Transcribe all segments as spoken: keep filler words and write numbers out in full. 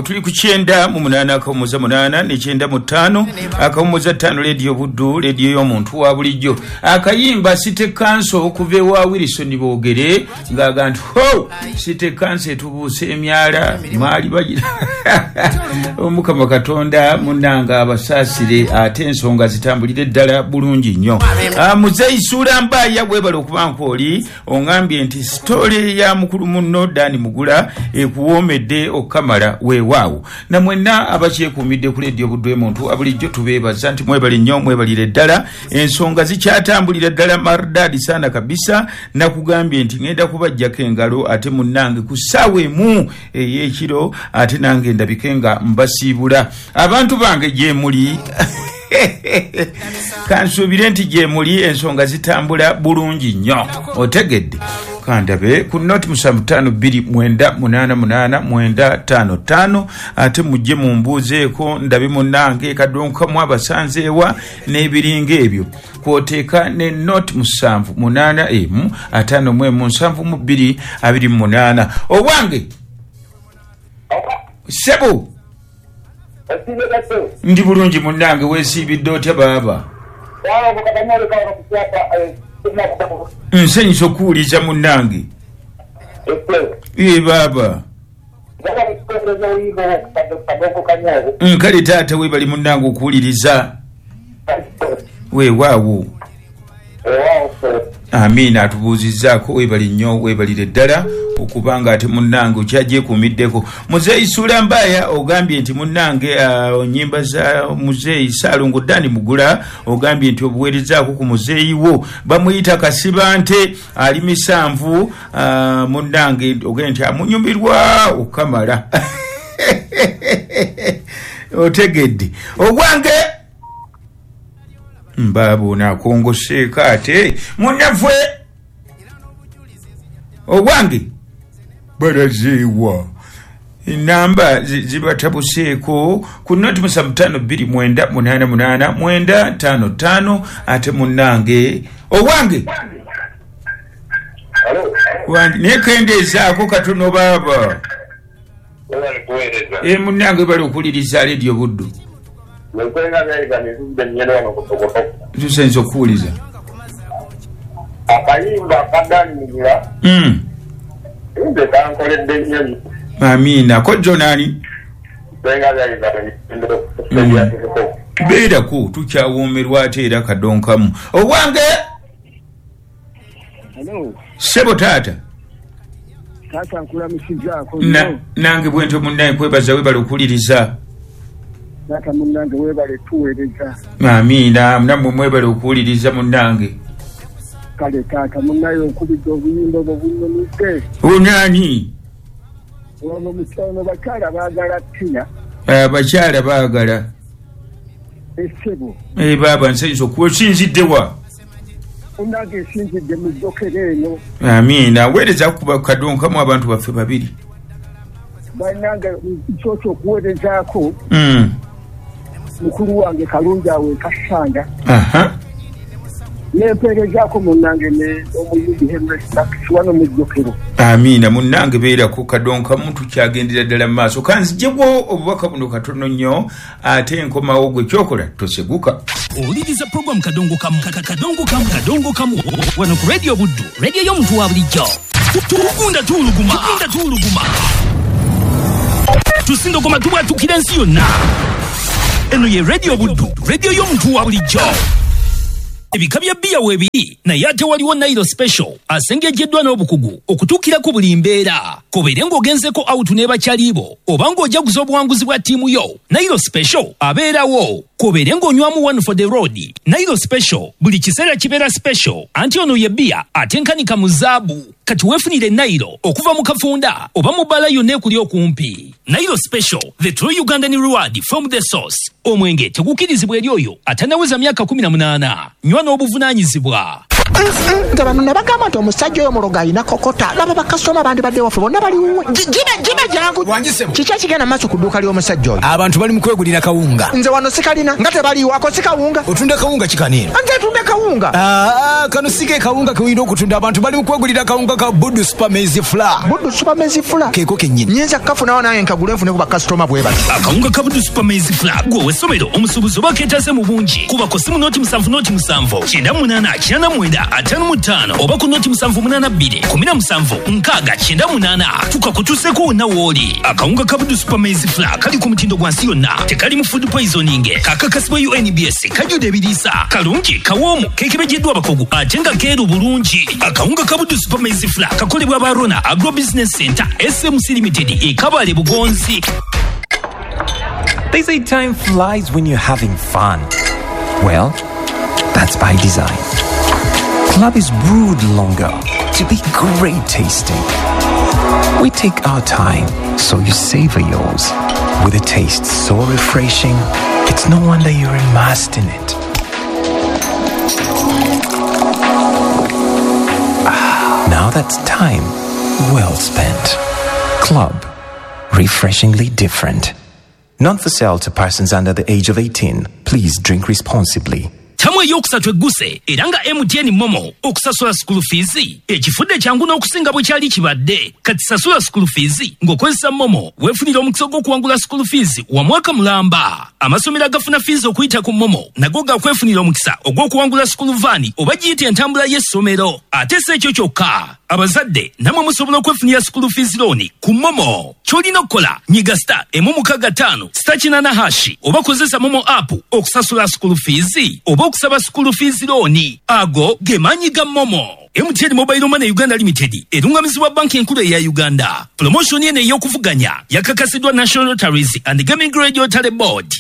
Tuli ku kyenda mu munaana akawumuza munaana ne kyenda mu ttaano akawumuza ttaano, Leediyo Buddu, leediyo y'omuntu wa bulijjo. Akayimba City Council okuva ewa Wilson Boogere ng'aga nti ho City Council etubuuse emyala mwali bagira. Omukama Katonda munnanga abasaasire, ate ensonga zitambulire ddala bulungi nnyo. Muzeeyi Suula Mbaaya, bwebale okuba nkwoli oŋŋambye nti story ya mukulu munno Dani Mugula ekuwoomedde okukamala. Weewaawo, namwenna abakyekuumidde ku Leediyo Buddu emuntu abulijjo, tubeebaza nti mwebale nnyo, mwebalire ddala. Ensonga zikyatambulira ddala maridadi sana kabisa. Nakugambye nti ŋŋenda kubajjako engalo ate munnange ku ssaawa emu ey'ekiro, ate nange ndabike nga mbasiibula. Abantu bange gye muli, kansuubire nti gye muli ensonga zitambula bulungi nnyo. Otegedde? Kandabe ku noti musanvu ttaano bbiri mwenda munaana munaana mwenda ttaano ttaano, ate mujje mumbuuzeeko ndabe munnange kadonkamu abasanzeewa n'ebiringa ebyo. Kwoteeka ne noti musanvu munaana emu ataano mu emu nsanvu mu bbiri abiri mu munaana. Owange ssebo, ndi bulungi munnange, weesiibidde otya baaba? Nsanyusa okuwuliza munnange. Ee baaba, nkale taata, weebali munnange okuwuliriza. Weewaawo, amiina. Atubuuzizzaako, weebali nnyo, weebalire ddala okubanga ate munnange okyagyekuumiddeko. Muzeeyi Suula Mbaaya, ogambye nti munnange uh, nyimba za muzeeyi Saalongo Dani Mugula, ogambye nti obuweerezaako ku muzeeyi wo bamuyita Kasibante ali misanvu. uh, munnange ogambye nti amunyumirwa okukamala. Otegedde ogwange mbaabo akongoseeko ate munnaffe ogwange balazeewa enamba zibatabuseeko ku noti musanvu ttaano bbiri mwenda munaana munaana mwenda ttaano ttaano. Ate munnange owange naye kendeezaako katono baaba. E munnange, bali okuwuliriza Leediyo Buddu, tusenza okuwuliza. Akayimba kadani Mugula Mm. nze kankoledde nnyo. Amiina. Kojjo nani? Senga byayiza. Beerako, tukyawoomerwa ate era kadonkamu owange. Hello, ssebo taata. Taata, nkulamusizaako Na- nnyo. Nange bwentyo munnaye, kwebaza, webale okuwuliriza. Taata munnange, weebale tuweereza. Amiina, nammwe mwebale okuwuliriza munnange. Kale taata munnaye, okubidde obuyimba obwo bunnyumidde. Onaani? Ono mukyano bakyala baagala tina. Abakyala baagala. Essebo. E baaba, nsanyusa okuba osinziddewa? Munnange, esinzidde mu ddokero eno. Amiina, weereza kuba kadonkamu abantu baffe babiri. Bannange, nsoose okuweerezaako Mm. mukulu wange Kalungi awo ekasanda. Aha. Nempeerezaako munnange ne omuyimbi Henry Sax wano mu ddokero. Amiina munnange, beerako kadonkamu, tukyagendera ddala mu maaso. Kanzijegwo obubaka buno katono nnyo ate nkomawo. Gwe kyokola toseguka. Owuliriza program Kadongo Kamu, Ka- Kadongo Kamu, Kadongo Kamu wano ku Radio Buddu, radio y'omuntu wa bulijjo. Tugunda tuwuluguma, tugunda tuwuluguma, tusindogoma, tubwatukira ensi yonna. Eno ye Radio Buddu, radio y'omuntu wa bulijjo. Ebika bya bbiya weebiri, naye ate waliwo Nairo Special asengejeddwa n'obukugu okutuukira ku buli mbeera. Kobeere ng'ogenzeko out ne bakyalibo oba ng'ojaguza obuwanguzi bwa ttiimu yo, Nairo Special abeerawo. Kobeere ng'onywamu one for the road, Nairo Special buli kiseera kibeera special. Anti ono ye bbiya atenkanika mu zaabu. Kati weefunire Nairo okuva mu kafunda oba mu bbala yonna ekuli okumpi. Nairo Special, the true Ugandan reward from the source. Omwenge tegukkirizibwa eri oyo atannaweza myaka kumi na munaana. Nywa n'obuvunaanyizibwa. Nze bano nabagamba nti omusajja oyo mulogo alina kokota. Laba bakasitoma bandibadde waffe bonna bali wuwe. Gibe gibe jangu. Kiki ekigenda maaso ku dduuka ly'omusajja oyo? Abantu bali mu kwegulira kawunga. Nze wano sikalina nga tebaliiwo, ako si kawunga. Otunda kawunga kikaniino? Nze tunda kawunga. Aa, kano si ke kawunga ke olina okutunda. Abantu bali mu kwegulira kawunga ka Buddu Super Maize Flour. Buddu Super Maize Flour? Keeko kennyini. Nnyinza kukafunawo nange nkagule nfune ku bakasitoma bwe bati. Akawunga ka Buddu Super Maize Flour gwe ow'essomero omusuubuzi oba keetaase mu bungi. Kuba ku ssimu noti musanvu noti musanvu kyenda munaana kyenda mwenda ataano mu ttaano oba ku noti musanvu munaana bbiri kumi na musanvu nkaaga kyenda munaana tukakutuuseeko wonna w'oli. Akawunga ka Buddu Super Maize Flour kali ku mutindo gwa nsi yonna, tekalimu food poisoning, kakakasibwa U N B S, kajjudde ebiriisa, kalungi, kawoomu, keekebejjeddwa abakugu ate nga keeru bulungi. Akawunga ka Buddu Super Maize Flour kakolebwa aba Rona Agro Business Center S M C Limited e Kabale Bugonzi. They say time flies when you're having fun. Well, that's by design. Club is brewed longer to be great tasting. We take our time so you savor yours. With a taste so refreshing, it's no wonder you're immersed in it. Ah, now that's time well spent. Club, refreshingly different. Not for sale to persons under the age of eighteen. Please drink responsibly. Tamu eyokusatu egguse era nga M T N Momo okusasula school fees ekifudde kyangu n'okusinga bwe kyali kibadde. Kati sasula school fees ng'okozesa Momo weefunira omukisa gw'okuwangula school fees wa mwaka mulamba. Amasomero agafuna fees okuyita ku Momo nago gakwefunira omukisa ogw'okuwangula school van oba giyite entambula y'essomero. Ate si ekyo kyokka, abazadde nammwe musobola okwefunira school fees loan ku Momo. Ky'olina okukola nyiga star emu mukaaga ttaano star kinaana hashi oba kozesa Momo app okusasula school fees oba okusaba school fees loan. Ago ge maanyi ga Momo. M T N Mobile Money Uganda Limited erungamizibwa banki enkulu eya Uganda. Promotion eno ey'okuvuganya yakakasiddwa National Lotteries and Gaming Regulatory Board.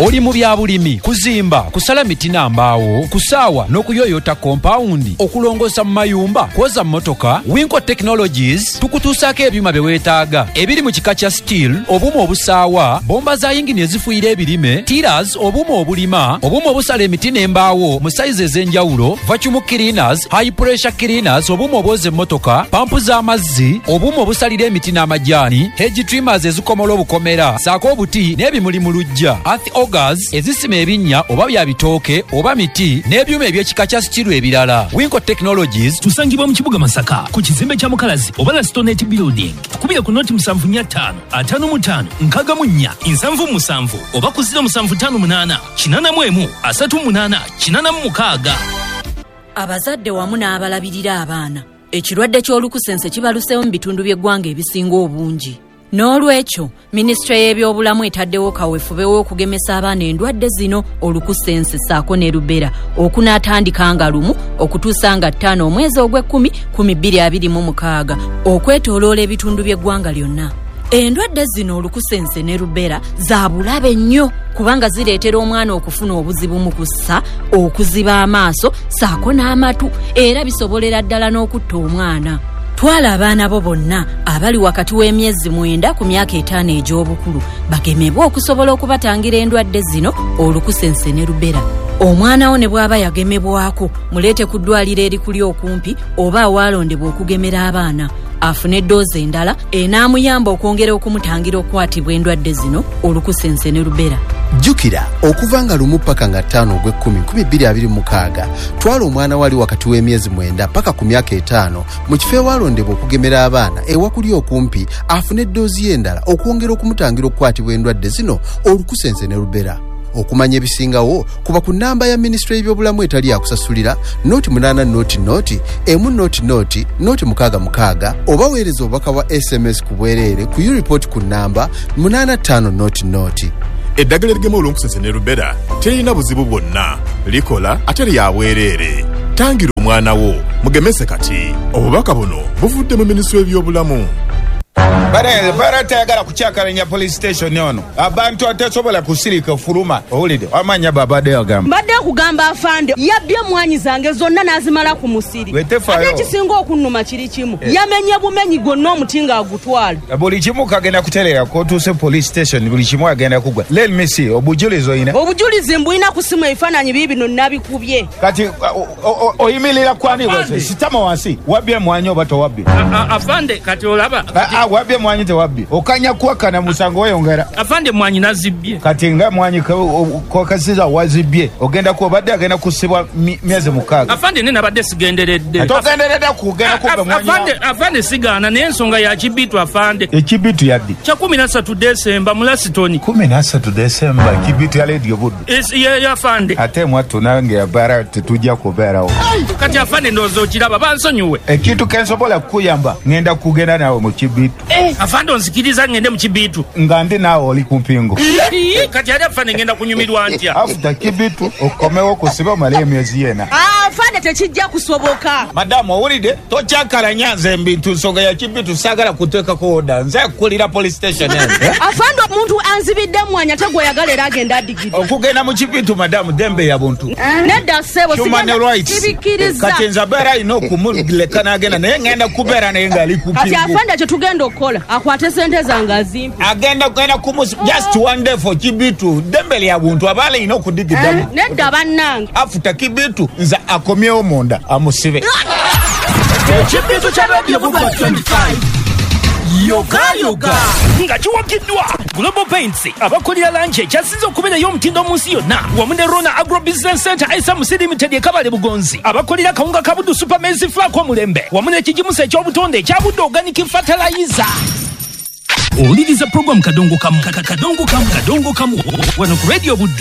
Oli mu bya bulimi, kuzimba, kusala miti na mbaawo, kusaawa n'okuyoyota kompawundi, okulongoosa mu mayumba, kwoza mmotoka. Winco Technologies tukutuusaako ebyuma bye weetaaga ebiri mu kika kya steel, obuuma obusaawa, bomba za yingini ezifuuyira ebirime, tillers, obuuma obulima, obuuma obusala emiti n'embaawo mu sayizi ez'enjawulo, vacuum cleaners, high pressure cleaners, obuuma obwoza emmotoka, pampu z'amazzi, obuuma obusalira emiti n'amajaani, hedge trimmers ezikomola obukomera, ssaako obuti n'ebimuli mu luggya, earth augers ezisima ebinnya oba bya bitooke oba miti n'ebyuma eby'ekika kya steel ebirala. Winco Technologies tusangibwa mu kibuga Masaka ku kizimbe kya Mukalazi oba Lastonet Building. Tukubira ku noti musanvu nnya ttaano ataano mu ttaano nkaaga mu nnya nsanvu mu musanvu oba ku ziro musanvu ttaano munaana kinaana mu emu asatu mu munaana kinaana mu mukaaga. Abazadde wamu n'abalabirira abaana, ekirwadde ky'olukusense kibaluseewo mu bitundu by'eggwanga ebisinga obungi. N'olwekyo minisitule y'ebyobulamu etaddewo kaweefube w'okugemesa abaana endwadde zino olukusense ssaako ne rubera okunaatandika nga lumu okutuusa nga ttaano omwezi ogw'ekkumi kumi bbiri abiri mu mukaaga okwetooloola ebitundu by'eggwanga lyonna. Endwadde zino olukusense ne rubera za bulabe nnyo kubanga zireetera omwana okufuna obuzibu mu kussa, okuziba amaaso ssaako n'amatu, era bisobolera ddala n'okutta omwana. Twala abaana bo bonna abali wakati w'emyezi mwenda ku myaka etaano egy'obukulu bagemebwe okusobola okubatangira endwadde zino olukusense ne rubera. Omwana wo ne bw'aba yagemebwako muleete ku ddwaliro erikuli okumpi oba awalondebwa okugemera abaana afune eddoozi endala enaamuyamba okwongera okumutangira okukwatibwa endwadde zino olukusense ne rubera. Jjukira okuva nga lumu paka nga ttaano ogw'ekkumi nkumi bbiri abiri mu mukaaga twala omwana wali wakati w'emyezi mwenda paka ku myaka etaano mu kifo ewalondebwa okugemera abaana ewakuli okumpi afune eddoozi ye endala okwongera okumutangira okukwatibwa endwadde zino olukusense ne rubera. Okumanya ebisingawo kuba ku nnamba ya minisitule y'ebyobulamu etali yakusasulira noti munaana noti noti emu noti noti noti mukaaga mukaaga oba weereza obubaka bwa S M S ku bwereere ku ureport ku nnamba munaana ttaano noti noti. Eddagala erigema olunkusense ne rubera terina buzibu bwonna, likola ate lya bwereere. Tangira omwana wo mugemese kati. Obubaka buno buvudde mu minisitule y'ebyobulamu. Bara tayagala kukyakalanya police station ono. Abantu atasobola kusirika fuluma. Owulidde amanya babadde agamba. Mbadde kugamba afande yabbye mwanyi zange zonna n'azimala ku musiri. Ate ekisinga okunnuma kiri kimu. Eh. Yamenye bumenyi gwonna omuti ng'agutwala. Buli kimu kagenda kuterera kotuuse police station buli kimu agenda kugwa. Let me see obujulizi oyina. Obujulizi mbulina ku simu ebifaananyi biibino nabikubye. Kati oyimirira kwani wose sitama wansi wabbye mwanyi oba towabbye. Afande kati olaba. Wabbye mwanyi tewabbye. Okanya kuwakana musango weyongera. Afande mwanyi nazibbye. Kati nga mwanyi kokasiza wazibbye ogenda ku obadde agenda kusibwa myezi mukaaga. Afande nene abadde sigenderedde. Togenderedde kugenda kubba mwanyi. Afande afande sigaana naye ensonga ya kibitu afande. Ekibitu yaddi? Kya kumi na ssatu Desemba mu Lasitoni. Kumi na ssatu Desemba kibitu ya Radio Buddu. Ye afande. Ate mwattu nange abara tetujja kubeerawo. Kati afande ndowooza okiraba bansonyiwe. Ekintu ke nsobola kukuyamba ngenda kugenda naawe mu kibitu. Afande onzikiriza ngende mu kibitu. Nga ndi naawe oli ku mpingu. Kati ali afande ngenda kunyumirwa ntya? Afuta kibitu okomewo kusiba omale emyezi yena. Afande tekijja kusoboka. Madamu owulidde tokyakalanya nze mbintu nsonga ya kibitu saagala kuteekako oda nze kukulira police station eno. Afande omuntu anzibidde mwanya ate gw'oyagala era agenda adigidde. Okugenda mu kibitu madamu dembe ya buntu. Nedda ssebo sigenda sibikkiriza. Kati nze abeera alina okumuleka n'agenda naye ngenda kubeera naye ng'ali ku mpingu. Kati afande kye tugenda okukola akwate sente zange azimpe. Agenda kugenda kumus just one day for kibitu dembe lya buntu abaala alina okudigiddamu. Nedda bannange. Afuta kibitu nze akomyewo munda amusibe. Ekibitu kya Radio Buddu twenty-five. Yoga yoga nga kiwagiddwa Global Paints abakolera langi ekyasinze okubeerayo omutindo mu nsi yonna wamu ne Rona Agro Business Center S M C Limited e Kabale Bugonzi abakolera kawunga ka Buddu Super Maize Flour omulembe wamu n'ekigimusa eky'obutonde ekya Buddu Organic Fertilizer. Owuliriza program Kadongo Kamu Kadongo Kamu Kadongo Kamu wano ku Radio Buddu.